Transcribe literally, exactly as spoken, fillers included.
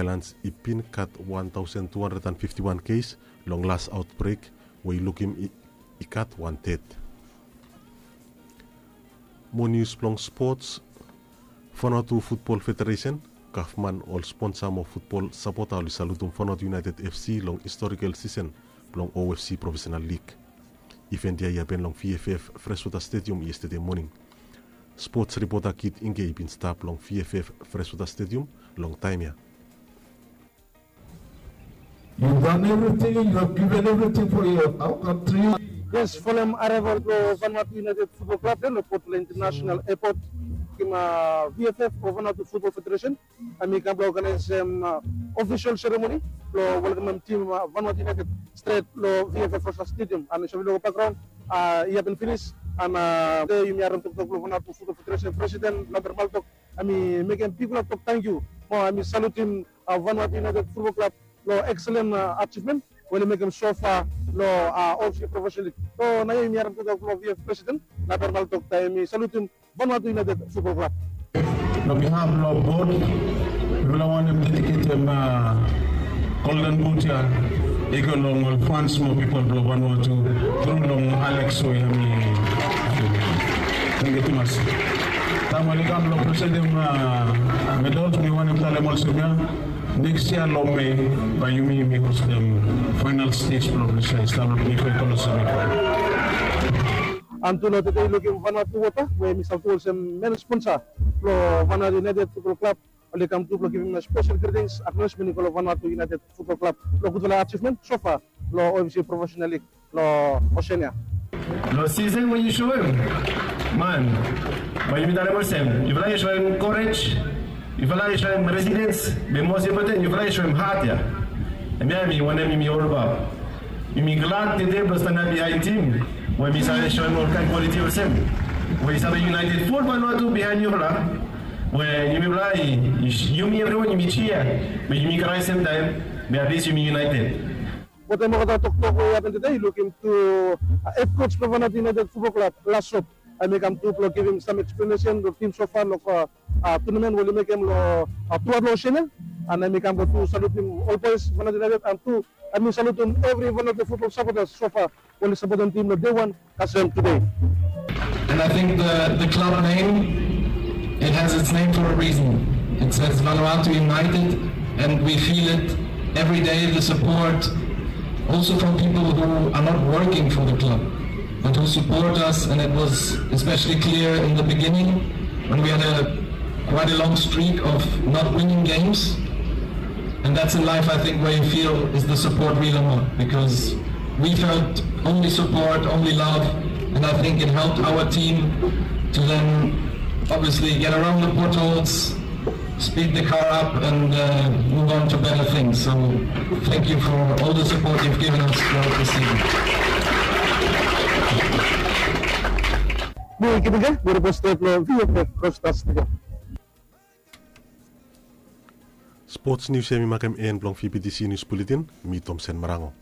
Ailans i bin gat wan taosen tu handred an fifti wan kes long las aotbrek we i lukim i gat wan ded. Mo nius blong spots. Vanuatu Futbol Federesen, gavman, ol sponsa mo futbol sapota oli salutum Vanuatu United FC long historikal sisen blong OFC Profesenal Lig. Iven ya i hapen long VFF Freshwater Stadium yestede moning. Spots ripota Kit Ingke i bin stap long VFF Freshwater Stadium long taem ya. You've done everything, you have given everything for your, our country. Yes, folem areval blong Vanuatu United Futbol Klab ya long Port Vila International Airport. Kim VFF o Vanuatu Futbol Federesen, hemi kam blong oganaesem ofisol seremoni blong welkamem tim Vanuatu United stret long VFF Freshwater Stadium. An i save long bakgraon i hapen finis. An tede yumi harem toktok blong Vanuatu Futbol Federesen presiden Lambert Maltok, hemi mekem bigfala tok tangkiu mo hemi salutim Vanuatu United Futbol Klab long ekselen ajivmen we oli mekem sofa long OFC Profesenal Lig. So naoia yumi harem toktok blong VFF presiden Lambert Maltok taem hemi salutim Vanuatu United Futbol Klab. Long bihaf blong bod, mifala wantem dediketem Golden Boot ya i go long ol fans mo pipol blong Vanuatu tru long Alex we hemi. Tangkiu tumas. Taem oli kam blong presentem medals, mi wantem talem olsem ya, nekis yia long Mei bae yumi yumi hostem faenal stej blong ples ya i stap long Playfair Coliseum. An tu long tede i lukim Vanuatu Wota we hemi stap tu olsem men sponsa blong Vanuatu United Futbol Klab, oli kam tu blong givim spesel gritings, aknolejmen i go long Vanuatu United Futbol Klab long gudfala ajivmen sofa long OFC Profesenal Lig long Oseania. Long sisen we yu soem man, bae yumi talem olsem, yufala yu soem korej, yufala yu soem resilens, be mos impoten yufala yu soem hat ya. Hemia hemi wanem yumi olbaot. Yumi glad tede blong stanap biaen tim we mi save soem olkaen kwaliti olsem, we i save united ful Vanuatu biaen yufala. We yumifala, yumi evriwan yumi jia, be yumi krae semtaem, be atlis yumi united. Wetem olgeta toktok we i hapen tede, i lukim tu hed koj blong Vanuatu United Futbol Klab, Lasop, hemi kam tu blong givim sam eksplanesen long tim sofa long tunamen we oli mekem long tuaot long Oseania. An hemi kam blong tu salutim ol boes Vanuatu United an tu hemi salutim evri Vanuatu futbol sapotas sofa we oli sapotem tim long dei wan kasem tede. And I think the, the club name, it has its name for a reason. It says Vanuatu United, and we feel it every day, the support, also from people who are not working for the club, but who support us, and it was especially clear in the beginning when we had a quite a long streak of not winning games. And that's in life, I think, where you feel is the support real or not, because we felt only support, only love, and I think it helped our team to then obviously get around the potholes, speed the car up, and uh, move on to better things. So thank you for all the support you've given us throughout the season. Mi Kit Ingke, mi ripot stret long VFF Freshwater Stadium. Spots nius ya hemi makem en blong VBTC Nius Buletin. Mi Tomsen Marango.